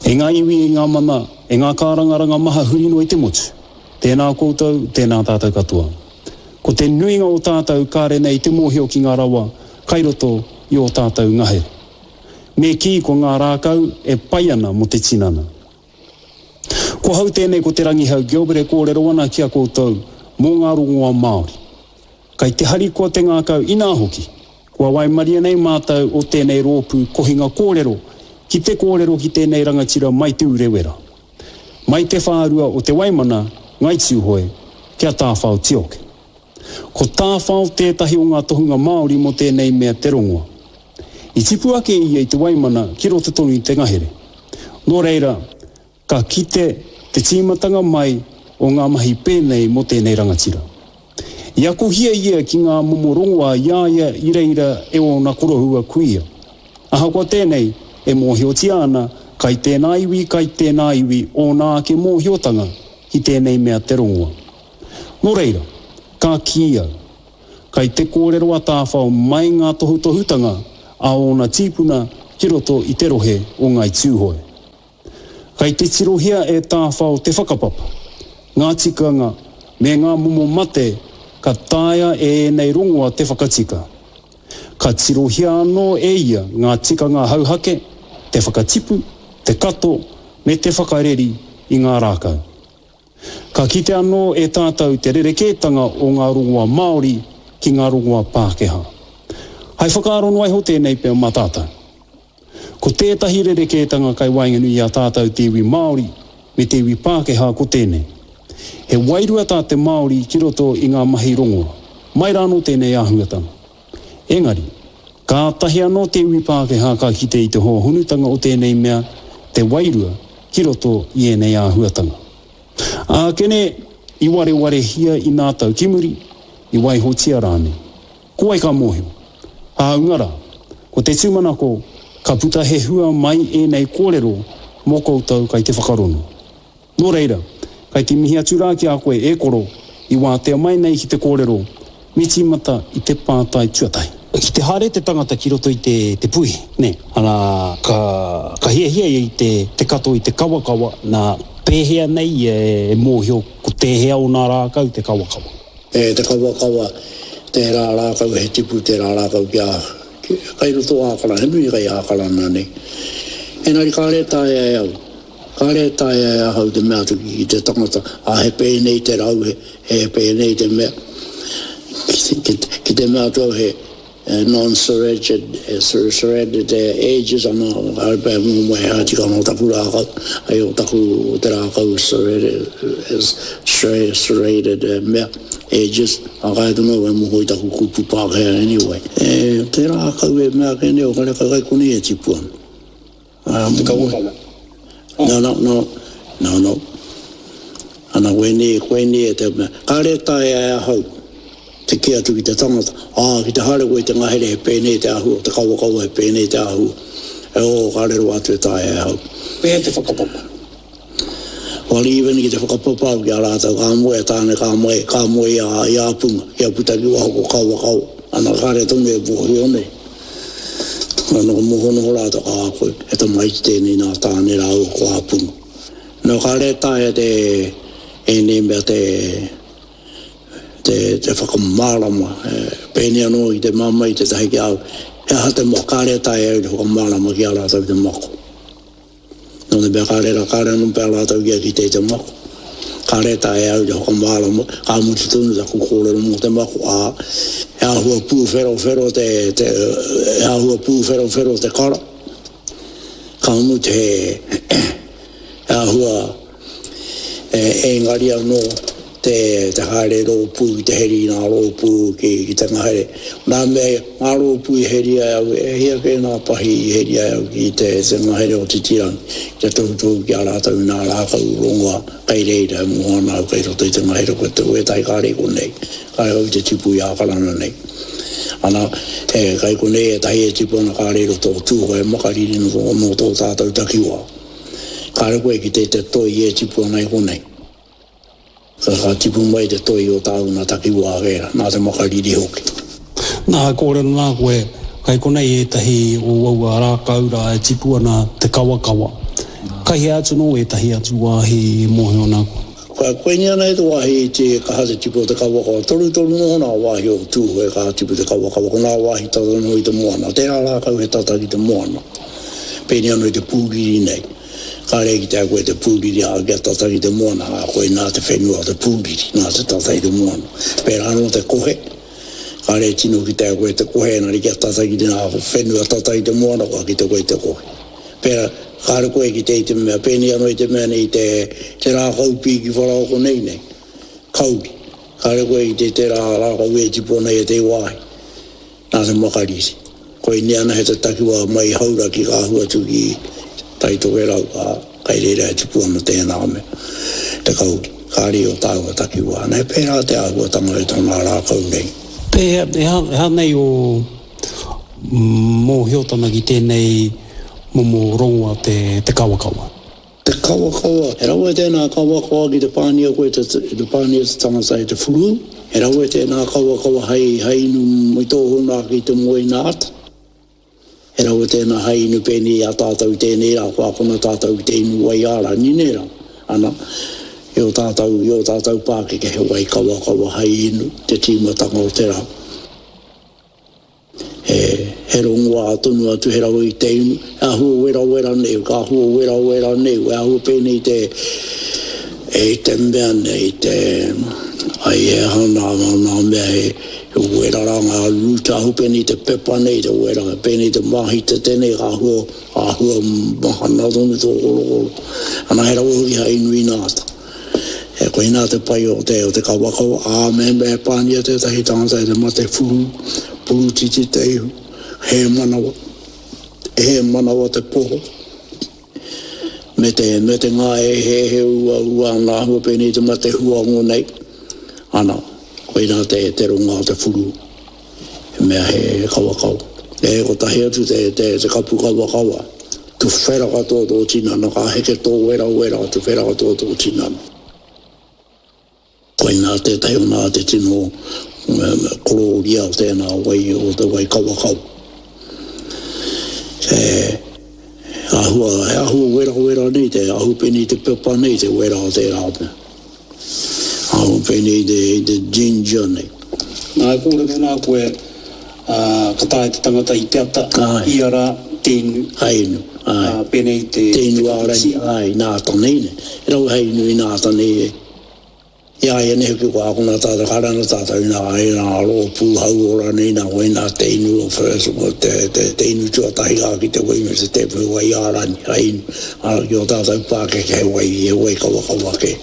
E ngā iwi, e ngā mana, e ngā kārangaranga maha huri noa i te motu, tēnā koutou, tēnā tātou katoa. Ko te nuinga o tātou kāre nei te mōhio ki ngā rawa kai roto i ō tātou ngahere. Me kī ko ngā rākau e pai ana mō te tinana. Ko hau tēnei ko Te Rangihau Gilbert e kōrero ana ki a koutou mō ngā rongoa Māori. Kai te harikoa te ngākau inā hoki, kua waimaria nei mātou o tēnei rōpū kohinga kōrero ki te kōrero ki tēnei rangatira mai Te Urewera, mai te whārua o Te Waimana, Ngai Tūhoe, ki a Tāwhao Tioke. Ko Tāwhao tētahi o ngā tohunga Māori mō tēnei mea te rongoa. I tipu ake ia i Te Waimana ki roto tonu i te ngahere. Nō reira, ka kite te tīmatanga mai o ngā mahi pēnei mō tēnei rangatira. I akohia ia ki ngā momo rongoā i a ia i reira e ōna koroua kuia. Ahakoa tēnei, e mōhiotia ana kai tēnā iwi kai tēnā iwi ōna ake mōhiotanga ki tēnei mea te rongoa. Nō reira, ka kī au, kai te kōrero a Tāwhao mai ngā tohutohutanga a ōna tīpuna ki roto i te rohe o Ngāi Tūhoe. Kai te tirohia e Tāwhao te whakapapa, ngā tikanga, me ngā momo mate ka taea e ēnei rongoa te whakatika. Ka tirohia anō e ia ngā tikanga hauhake, te whakatipu, te kato, me te whakareri i ngā rākau. Ka kite anō e tātou te rerekētanga o ngā rongoa Māori ki ngā rongoa Pākehā. Hai whakaaro noa iho tēnei pea mā tātou. Ko tētahi rerekētanga kai waenganui i a tātou te iwi Māori me te iwi Pākehā ko tēnei. He wairua tā te Māori ki roto i ngā mahi rongoa. Mai rānō tēnei āhuatanga. Engari, kātahi anō te iwi Pākehā ka kite i te hōhonutanga o tēnei mea, te wairua, ki roto i ēnei āhuatanga. Ākene, i warewarehia i nā tau ki muri, i waihotia rānei. Ko wai ka mōhio? Hāunga rā, ko te tūmanako, ka puta he hua mai ēnei kōrero mō koutou kai te whakarono. Nō reira, kai te mihi atu rā ki a koe e koro, i wātea mai nei ki te kōrero, me tīmata i te pātai tuatahi. Ki te haere te tangata ki roto i te te puihi, nē, ana, ka, ka hiahia ia i te, te kato i te kawakawa, nā, pēhea nei ia e mōhio ko tēhea o nā rākau te kawakawa? E te kawakawa, tērā rākau he tipu tērā rākau kia, ki, kai roto Ākarana, he nui kai Ākarana nei. Engari kāre e taea e au. Kāre e taea e ahau te mea atu ki te tangata, ā, he pēnei te rau, he, he pēnei te mea. Ki, ki, ki te mea atu au he non-serrated, serrated edges, ana, kāre pea e momo he aha tikanga o taku rākau, ai o taku, o te rākau serrated, serrated mea, edges, ā, kāre tonu au e moho i taku kupu Pākehā anyway. E, te rākau e mea ake nei, o kareka kai konei e tipu ana. Te kawakawa. No, no, no, no, no. Ana, koinei, koinei e te mea. Kāre e taea e ahau te kī atu ki te tangata, ā, ki te haere koe i te ngahere he pēnei te āhua, te kawakawa he pēnei te āhua. E ō, kāre rawa atu e taea e ahau. Pēhea te whakapapa? Well, even ki te whakapapa au ki a rātou, ka moe a Tāne, ka moe, ka moe i a, i a Punga, kia puta ki waho ko Kawakawa. Ana, kāre tonu e mōhio nei. Ana, ka moho noho rātou, ka koe, he tamaiti tēnei nā Tāne rāua ko Āpunga. Nō, kāre e taea te, ēnei mea te, te, te whakamārama, e, pēnei anō i te māmā i tētahi ki a au, he aha te mako, kāre e taea e au te whakamārama ki a rātou te mako. Nō te mea kāre rā, kāre anō pea rātou kia kite i te mako. Kāre e taea e au te whakamārama, ka mutu tonu taku kōrero mō te mako, ā, he āhua pūwherowhero te, te, he āhua pūwherowhero te kara. Ka mutu he, he āhua Engari anō te te haere rōpū ki te heri i ngā rōpū ki ki te ngahere. Nā mea ngā rōpū i heria e au, e hia kē ngā pahi i heria e au ki te te ngahere o Titirangi, ki te tohutohu ki a rātou i ngā rākau rongoa kei reira e moho ana au kei roto i te ngahere ko te wētahi kāre i konei, kāre kau i te tipu i Ākarana nei. Ana, e, kei konei ētahi e tipu ana kāre i roto o Tūhoe, Makariri nō tō tātou takiwā. Kāre koe ki te te toi e tipu ana i konei. Ka tipu mai te toi o tāu nā takiwā wēra, nā te makariri hoki. Nā, e kōrero nā koe, kai konei ētahi o aua rākau rā e tipu ana te kawakawa. Kai hea atu nō ētahi atu wāhi e mōhio ana koe? Ka koinei ana te wāhi iti e kaha te tipu o te kawakawa. Torutoru noho nā wāhi o Tūhoe kaha tipu te kawakawa. Ko nā wāhi tata noho i te moana. Tērā rākau he tata ki te moana. Pēnei anō i te pūriri nei. Kāre e kitea koe te pūriri ā kia tata ki te moana, ā koinā te whenua o te pūriri, nā te tata i te moana. Pērā anō te kohe. Kāre e tino kitea koe te kohe engari kia tata ki te nā whenua tata i te moana kua kite koe i te kohe. Pērā, kāre koe ki te i te mea, pēnei anō i te mea nei te, te rākau pīki wharaoko nei nei, kauri. Kāre koe ki te tērā rākau e tipu ana i ētehi wāhi, nā te makariri. Koinei anahe te takiwā mai i Hauraki ka ahu atu ki Tai Tokerau, ā, kai reira e tipu ana tēnā mea, te kauri. Kāre i o tāua takiwā. Nā, he pērā te āhuatanga i tōnā rākau nei. Pēhea, he aha nei ō mōhiotanga ki tēnei momo rongoa te kawakawa. Te kawakawa, he rawe tēnā kawakawa ki te pānia koe te, te pānia te tangata e te whurū, he rawe tēnā kawakawa hei, hei inu i tō huna ake i te moe ina ata. He rawe tēnā hei inu pēnei i a tātou i tēnei rā, kua akona tātou ki te inu wai ārani, nē rā? Ana, i ō tātou, i ō tātou pākeke he wai kawakawa hei inu te tīmatanga o te rā. He, he rongoā tonu atu, he rawe i te inu, he āhua werawera nei, ka āhua werawera nei, he āhua pēnei te, e i te mea nei, te, ai he aha nā, nā, nā mea he, he wera rā ngā root, āhua pēnei te pepa nei, te wera, pēnei te māhitete nei, ka āhua, āhua mahana tonu tō korokoro. Ana he rawe hoki hai inu ina ata. E koinā te pai o te, o te kawakawa, ā, mehemea e pānia tētahi tangata e te mate whuru, purutiti te ihu, hē manawa, hē manawa te poho, me te, me te ngāeheehe uaua ana āhua pēnei te mate huango nei, ana, koinā te, te rongoā o te whuru. He mea he kawakawa. E kotahi atu te, te, te kapu kawakawa. Tuwhera katoa tō tinana, ka heke tō werawera, tuwhera katoa tō tinana. Koinā tētahi o nā te tino korōria o tēnā wai, o te wai kawakawa. He āhua, he āhua werawera nei, te ahu pēnei te pepa nei, te wera o tērā mea. Ahu pēnei i te, i te ginger nei. Nā, e kōrero nā koe, ā, ka taea te tangata i te ata, ia rā, te inu. Hai inu, āe. Ā, pēnei i te, te inu ārani, āe, nā ata nei, nei. He rawe hai inu i nā ata nei e. I a ia nei hoki kua akona tātou, ka rana tātou i nā, i nā rōpū hauora nei, nā wai nā te inu o first, te, te, te inu tuatahi rā ki te wai me te tēpu he wai ārani, hai inu. Ā, ki ō tātou pākeke he wai, he wai kawakawa kē.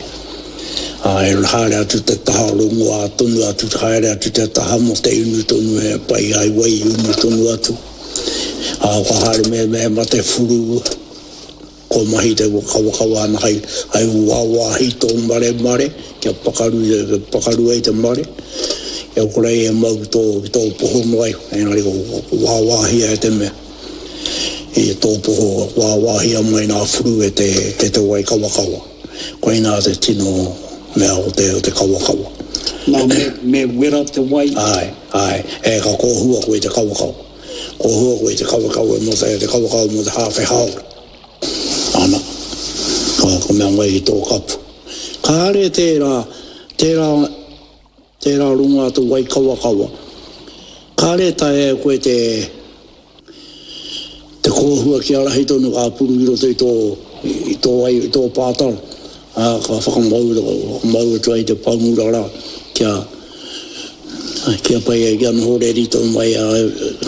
Ā, e haere atu te taha rongoā tonu atu, haere atu te taha mō te inu tonu he pai ai wai inu tonu atu. Ā, ka haere me, me mate whuru, kua mahi te kawakawa ana hai, hai wāwāhi tō maremare, kia pakaru, kia pakaru ai te mare, kia kore ai e mau ki tō, ki tō poho noa iho, engari ko wāwāhia e te mea. I tō poho wāwāhia mai nā whuru e te, e te wai kawakawa. Koinā te tino mea o te, o te kawakawa. Nā, me, me wera te wai? Āe, āe. E, ka kōhua koe i te kawakawa. Kōhua koe i te kawakawa mō te, te kawakawa mō te hāwhe hāora. Ana, ka, ka mea mai ki tō kapu. Kāre tērā, tērā, tērā rongoā te wai kawakawa. Kāre e taea e koe te, Te kōhua kia rahi tonu ka puru i roto i tō, i tō ai, i tō pātara, ā, ka whakamau, whakamau atu ai te pangura rā, kia, kia pai ai, kia noho reri tonu mai, ā,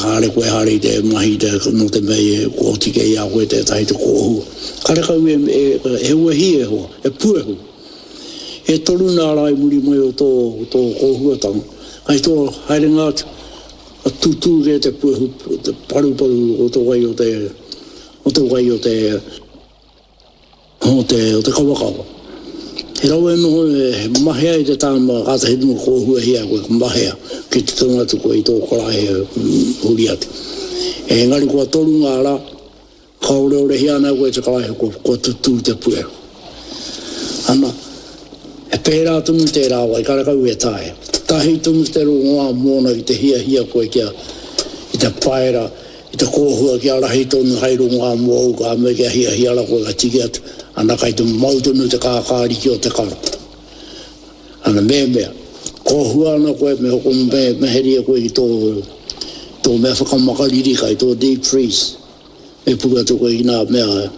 haere koe haere i te mahi te, nō te mea i kua oti kei a koe tētahi te kōhua. Karekau e, e, he wehi e hoa, he puehu. E toru nā rā i muri mai o tō, tō kōhuatanga, kai tō haerenga atu, Ka tutū kē te puehu, te paruparu o te wai o te, o te wai o te, o te, o te kawakawa. He rawe noho e mahea i te tāma kātahi tonu kōhuahia koe, ka mahea ki te tonu atu koe i tō karaehe huri atu. Engari kua toru ngā rā, Ka oreorehia ana koe te karaehe kua, kua tutū te puehu. Ana, he pērā tonu tērā wai, karekau e taea. Tahi tonu te rongoā mōna ki te hiahia koe kia, ki te paera, I te kōhua kia rahi tonu hai rongoā mōu ka mea kia hiahia ra koe ka tiki atu, ana kai te mau tonu te kākāriki o te kara. Ana mehemea, kōhua ana koe me hoko me, me heria koe ki tō, tō mea whakamakariri kai tō deep freeze, me puru atu koe ki nā mea,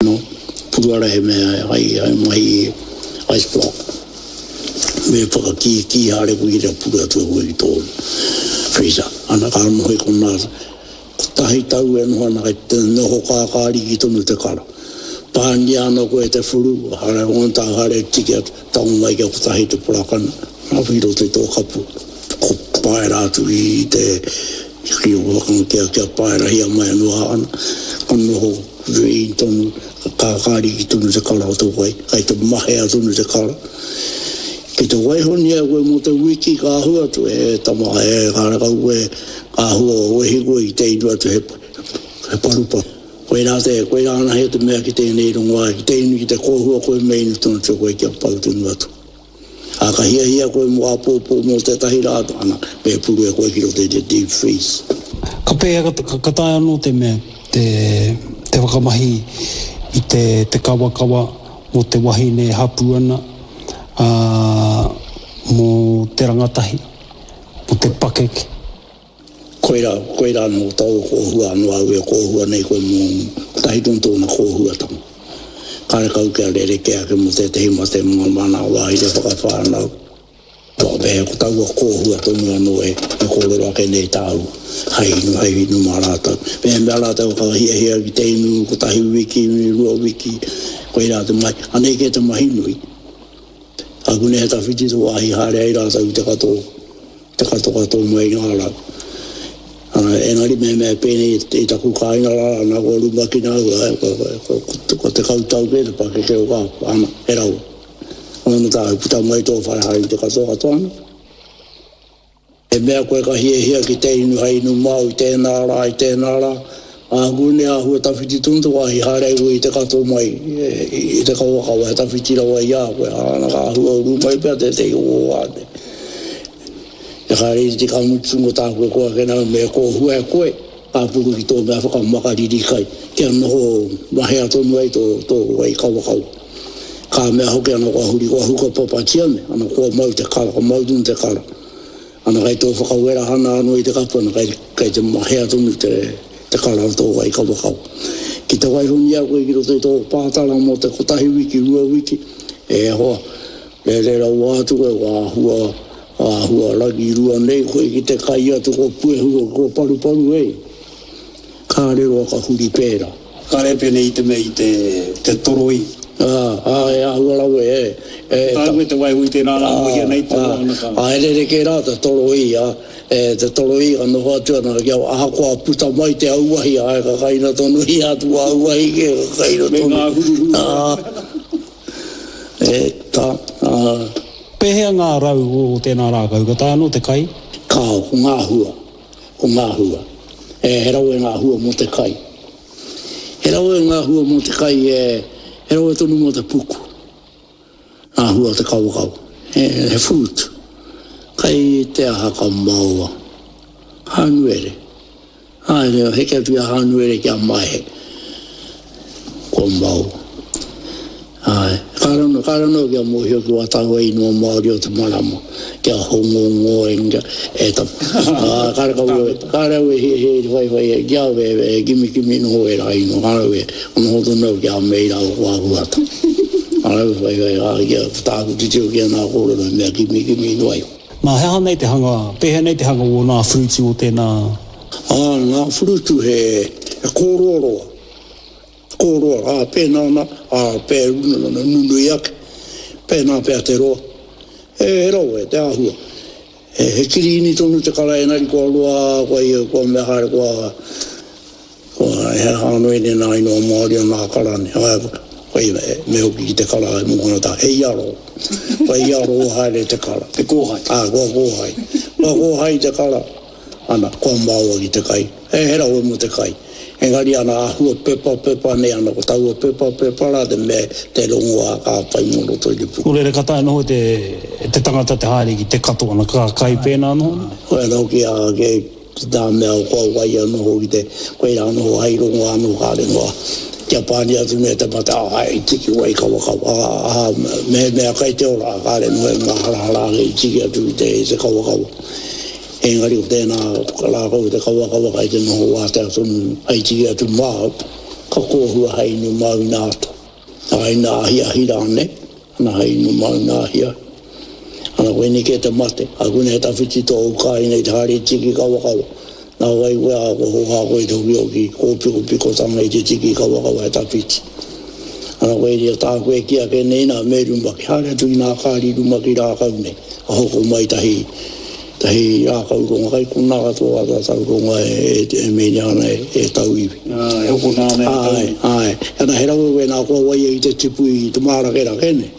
No, puru ara he mea hai, hai mahi ice block. Me whakakīkī haere koe ki te puru atu e koe ki tō freezer. Ana ka noho i konā, kotahi tau e noho ana kei te noho kākāriki tonu te kara. Pāngia ana koe e te whuru, haere ona tāu haere tiki atu, tango mai kia kotahi te porakana, i roto i tō kapu. Ko paera atu i te, ki o kia, kia paerahia mai anō ana, ka noho Green tonu, ka kākāriki tonu te kara o te wai, kai te mahea tonu te kara. Ki te waihonia koe mō te wiki ka ahu atu, e tama, e karekau koe, ka ahua wehi koe ki te inu atu he, he paruparu. Koirā te, koirā anahe te mea ki tēnei rongoā, ki te inu, ki te kōhua koe me inu tonu atu koe kia pau tonu atu. Ā, ka hiahia koe mō āpōpō mō tētahi rā, ana, me puru e koe ki roto i te deep freeze. Ka pēhea, ka taea anō te mea te, te whakamahi i te, te kawakawa mō te wahine e hapū ana, ā, mō te rangatahi, mō te pakeke? Koirā, koirā anō taua kōhua anō au e kōhua nei koe mō kotahi tonu tōna kōhuatanga. Karekau kia rerekē ake mō tētehi mate mō ngā mana wāhi te whakawhānau. Pea ko taua kōhua tonu anō e kōrero ake nei tāu hei inu, hei inu mā rātou. Mehemea rātou ka hiahia ki te inu kotahi wiki, rua wiki, koirā te mahi. Anei kē te mahi nui. Akune he tawhiti te wāhi haere ai rātou ki te katoa. Te katokato mai i ngā rau. Engari mehemea e pēnei i taku kāinga rā, ana kua rumakina au, kua 10 tau kē te pakeke o kā, ana, he rawa. Ono tāu, puta mai tō whare haere i te katokato ana. He mea koe ka hiahia ki te inu hei inu māu i tēnā rā, i tēnā rā, āku nei āhua tawhiti tonu te wāhi haere ai koe i te kato mai i te kawakawa, he tawhiti rawa i a koe, ana ka āhua uru mai pea tētehi o ō wā nei. E haere i te ka mutu mo tāku e koa ake nā, me kōhua e koe, ka puru ki tō mea whakamakariri kai, kia noho mahea tonu ai tō, tō wai kawakawa. Ka mea hoki ana kua huri, kua huka papatia me, ana kua mau te kara, ka mau tonu te kara. Ana kai tō whakawerahana anō i te kapu, ana kai, kai te mahea tonu te, te kara o tō wai kawakawa. Ki te waihonia koe ki roto i tō pātara mō te kotahi wiki, rua wiki, e hoa, Rere rawa atu koe, kua āhua, āhua rangirua nei koe ki te kai atu, kua puehu, kua paruparu e. Kāre roa ka huri pērā. Kāre pēnei i te mea i te, te toroi. Ā, ā, e āhua rawe, e, e. Ka taua te waiho i tērā rā, mohia nei te roa ana ka. Ā, e rerekē rā te toroi, ā, e, te toroi ka noho atu ana kia, ahakoa puta mai te auahi, āe, ka kaina tonu ia atu auahi kē, ka kaina tonu. Me ngā huruhuru. Ā. E ta, a. Pēhea ngā rau o tēnā rākau? Ka taea anō te kai? Kāo, ko ngā hua. Ko ngā hua. E, he rawe ngā hua mō te kai. He rawe ngā hua mō te kai, e, he rawe tonu mō te puku. Ngā hua o te kawakawa. He, he fruit. Kai te aha ka maoa. Hānuere. Haere, heke atu i a Hānuere ki a Maehe. Kua mau. Āe, kāre anō, kāre anō kia mōhio ki wā tāua ingoa Māori o te marama, kia Hongongōenga, e ta, ā, kāre kau au, kāre au e hiahia i te whaiwhai e, ki a au e, e kimikimi noho ērā ingoa, kāre au e, noho tonu au ki a Mei rāua ko Āhuata. Kāre au e whaiwhai, ā, kia, ko tāku titiro ki ana kōrero he mea kimikimi noa iho. Nā, he aha nei te hanga, pēhea nei te hanga o nā whurutu o tēnā? Ā, ngā whurutu he, he kōroaroa, kōroa, ā, pēnā ana, ā, pē, nunui ake, pēnā pea te roa. He, he rawe te āhua. He, he kirīni tonu te kara engari kua roa, kua, kua mea haere, kua, Kua he aha anō ēnei nā ingoa Māori o nā kara nei. Āe, koia e, me hoki ki te kara e mō ana he iaro. Kua iaro haere te kara. Te kōhai. Āe, kua kōhai. Kua kōhai te kara, ana, kua maoa ki te kai. He, he rawe mō te kai. Engari ana āhua pepapepa nei ana, ko taua pepapepa rā te mea te rongoā ka whai mō roto i te puku. Nō reira ka taea noho te, te tangata te haere ki te kato ana ka kai pēnā noho nei? Koia hoki a, ke. Ki tā mea kua wai anō hoki te, koirā noho hai rongo anō kāre noa kia pani atu me te mate ā i tiki wai kawakawa ā mehemea kai te ora kāre noa e māharahara ake i tiki atu i te, i te kawakawa. Engari ko tēnā rākau te kawakawa kai te noho wātea tonu hai tiki atu māu, ka kōhua hai inu māu ina ata. Ā, ina ahiahi rānei, ana hai inu māu ina ahiahi. Ana koinei kē te mate, a koinei he tawhiti tōu kāinga i te haere tiki kawakawa. Nā wai koe ā, kua hōhā koe i te hokihoki kōpikopikotanga i te tiki kawakawa he tawhiti. Ana koe ia tā koe kī ake nei nā, me rumaki, haere atu ki nā kāri rumaki rākau nei, ka hoko mai tahi, tahi rākau ronga, kai konā katoa tā tātou ronga e, e mēnia ana e, e tauiwi. Ā, e hokona ana e tauiwi. Āe, āe. Ana he rawe wēnā kua waia i te tipu i te mārakerake nei.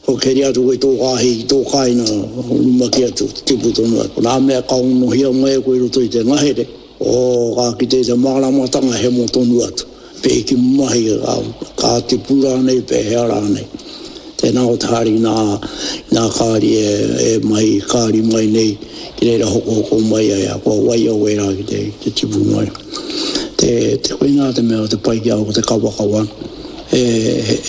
Kua keri atu koe i tō kāhi, i tō kāinga, rumaki atu, tipu tonu atu. Ko nā mea ka onohia mai e koe i roto i te ngahere, oh, ka kite i te māramatanga hemo tonu atu. Pēhi mahi, ka tipu rānei, pēhea rānei. Tēnā ko te haere ki nā, nā kāri e, e mahi kāri mai nei, ki reira hokohoko mai ai, a kua waia wērā ki te, ki te tipu mai. Te, te koinā te mea o te pai ki a au ko te kawakawa. E, he, he.